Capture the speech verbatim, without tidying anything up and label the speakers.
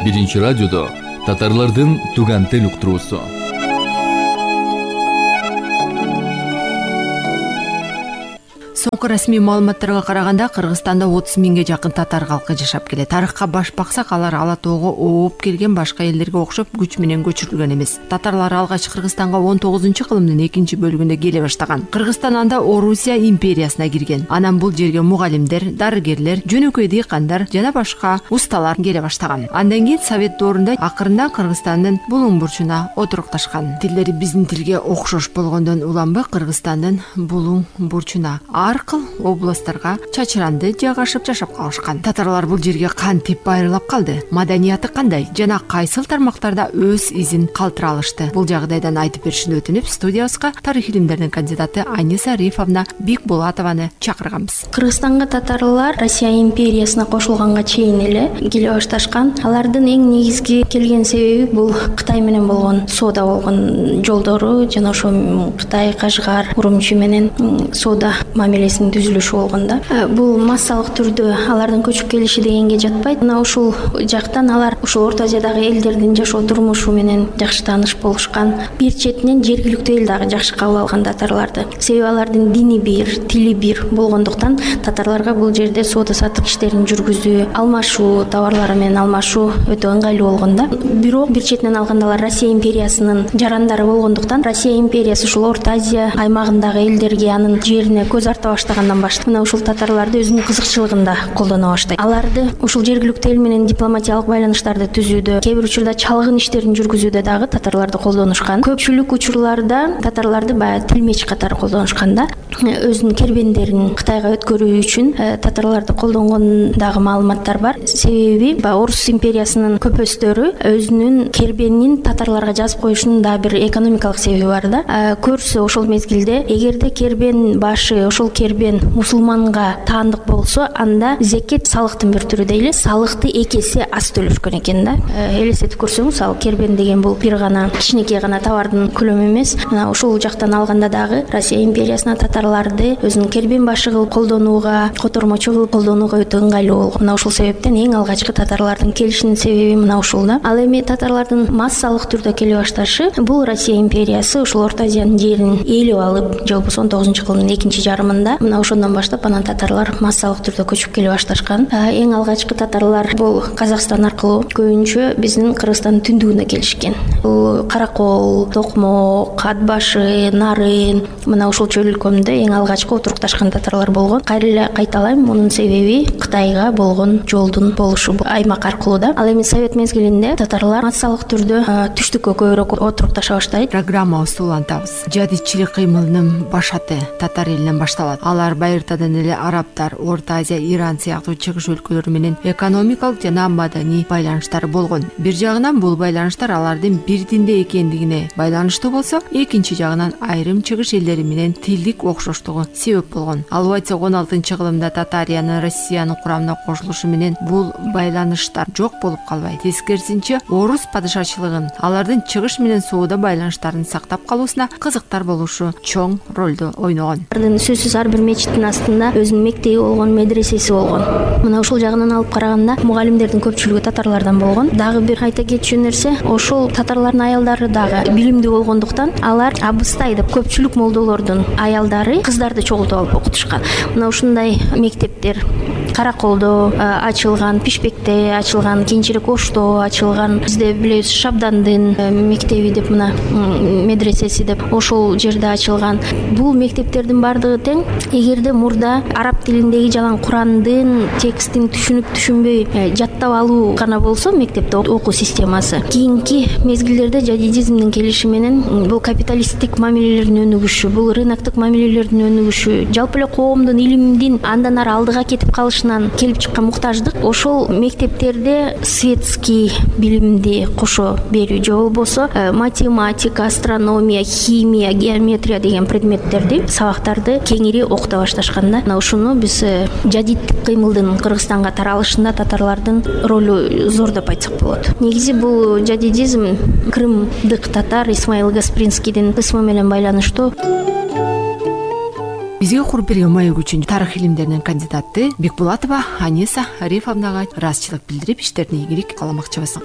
Speaker 1: Биринчи радиодо татарлардын туган тил уктуруусу.
Speaker 2: Соңку расмий маалыматтарга караганда Кыргызстанда отуз миңге жакын татар калкы жашап келет. Тарыхка баш баксак, алар ала тоого ооп келген башка элдерге окшоп күч менен көчүрүлгөн эмес. Татарлар алгач Кыргызстанга он тогузунчу кылымдын экинчи бөлүгүндө келе баштаган. Кыргызстан анда Орусия империясына кирген. Анан бул жерге мугалимдер, дарыгерлер, жөнөкөй дыйкандар жана башка усталар келе баштаган. Андан кийин Совет доорунда акырында Кыргызстандын булуң бурчуна отурукташкан. Тилдери биздин тилге окшош болгондон уланбы Кыргызстандын булуң бурчуна аркыл областтарга чачыранды жайгашып жашап калышкан. Татарлар бул жерге кантип байырлап калды, маданияты кандай жана кайсыл тармактарда өз изин калтыра алышты? Бул жагдайдан айтып беришин өтүнүп, студиябызга тарых илимдеринин кандидаты Аниса Рифовна Бикбулатованы чакырганбыз.
Speaker 3: Кыргызстанга татарлар Россия империясына кошулганга чейин эле келе башташкан. Алардын эң негизги келген себеби бул Кытай менен болгон соода болгон жолдору жана ошо Кытай, Кашгар, Урумчи менен соода мамилесинин түзүлүшү болгондо. Бул массалык түрдө алардын көчүп келиши дегенге жатпайт. Мына ушул жактан алар ушул Орто Азиядагы элдердин жашоо турмушу менен жакшы тааныш болушкан. Бир четинен жергиликтүү эл дагы жакшы кабыл алган татарларды. Себеби алардын дини бир, тили бир болгондуктан татарларга бул жерде соода саттык иштерин жүргүзүү, алмашуу, товарлары менен алмашуу өтө ыңгайлуу болгондо. Бирок бир четинен алганда алар Россия империясынын жарандары болгондуктан Россия империясы ушул Орто Азия аймагындагы элдерге, анын жерине көз арта баштагандан баштап мына ушул татарларды өзүнүн кызыкчылыгында колдоно баштайт. Аларды ушул жергиликтүү эл менен дипломатиялык байланыштарды түзүүдө, кээ бир учурда чалгын иштерин жүргүзүүдө дагы татарларды колдонушкан. Көпчүлүк учурларда татарларды баягы тилмеч катары колдонушкан да. Өзүнүн кербендерин Кытайга өткөрүү үчүн татарларды колдонгон дагы маалыматтар бар. Себеби Орус империясынын көпөстөрү өзүнүн кербенин татарларга жазып коюшунун да бир экономикалык себеби бар да. Көрсө ошол мезгилде эгерде кербен башы, ошол кербен мусулманга таандык болсо, анда зекет салыктын бир түрү дейли, салыкты эки эсе аз төлөшкөн экен да. Элестетип көрсөңүз, ал кербен деген бул бир гана кичинекей гана товардын көлөмү эмес. Мына ушул жактан алганда дагы Россия империясына татарларды өзүнүн кербен башы кылып колдонууга, котормочу кылып колдонууга өтө ыңгайлуу болгон. Мына ушул себептен эң алгачкы татарлардын келишинин себеби мына ушул да. Ал эми татарлардын массалык түрдө келе башташы бул Россия империясы ушул Орто Азиянын жерин ээлеп алып, же болбосо он тогузунчу кылымдын экинчи жарымында мына ошондон баштап анан татарлар массалык түрдө көчүп келе башташкан. Эң алгачкы татарлар бул Казакстан аркылуу көбүнчө биздин Кыргызстандын түндүгүнө келишкен. Бул Каракол, Токмок, Ат башы, Нарын мына ушул чөл өлкөмдө эң алгачкы отурукташкан татарлар болгон. Кайра эле кайталайм, мунун себеби Кытайга болгон жолдун болушу аймак аркылуу да. Ал эми Совет мезгилинде татарлар массалык түрдө түштүккө көбүрөөк отурукташа баштайт.
Speaker 2: Программабызды улантабыз. Жадидчилик кыймылынын башаты татар элинен башталат. Алар байыртадан эле арабтар, Орто Азия, Иран сыяктуу чыгыш өлкөлөрү менен экономикалык жана маданий байланыштары болгон. Бир жагынан бул байланыштар алардын бир динде экендигине байланыштуу болсо, экинчи жагынан айрым чыгыш элдери менен тилдик окшоштугу себеп болгон. Алып айтсак, он алтынчы кылымда Татариянын Россиянын курамына кошулушу менен бул байланыштар жок болуп калбайт. Тескерисинче, орус падышачылыгын, алардын чыгыш менен соода байланыштарын сактап калуусуна кызыктар болушу чоң ролду ойногон.
Speaker 3: Сөзсүз ар бир мечиттин астында өзүнүн мектеби болгон, медресеси болгон. Мына ушул жагынан алып караганда мугалимдердин көпчүлүгү татарлардан болгон. Дагы бир айта кетчү нерсе, ошол татарлардын аялдары дагы билимдүү болгондуктан алар абыстай деп көпчүлүк молдолордун аялдары кыздарды чогултуп алып окутушкан. Мына ушундай мектептер Караколдо ачылган, Пишпекте ачылган, кийинчерээк Ошто ачылган. Бизде билебиз Шабдандын мектеби деп мына медресеси деп ошол жерде ачылган. Бул мектептердин бардыгы тең. Эгерде мурда араб тилиндеги жалаң Курандын текстин түшүнүп түшүнбөй жаттап алуу гана болсо мектепте окуу системасы, кийинки мезгилдерде жадидизмдин келиши менен бул капиталисттик мамилелердин өнүгүшү, бул рыноктук мамилелердин өнүгүшү, жалпы эле коомдун илимдин андан ары алдыга кетип калышынан келип чыккан муктаждык ошол мектептерде светский билимди кошо берүү, же болбосо математика, астрономия, химия, геометрия деген предметтерди, сабактарды кеңири окута башташканда, мына ушуну биз жадидтик кыймылдын Кыргызстанга таралышында татарлардын ролу зор деп айтсак болот. Негизи бул жадидизм крымдык татар Исмаил Гаспринскийдин кысмы менен байланыштуу.
Speaker 2: бизге куруп берген маек үчүн тарых илимдеринин кандидаты Бекбулатова Аниса Арифовнага ыраазычылык билдирип иштерине ийгилик кааламакчыбыз.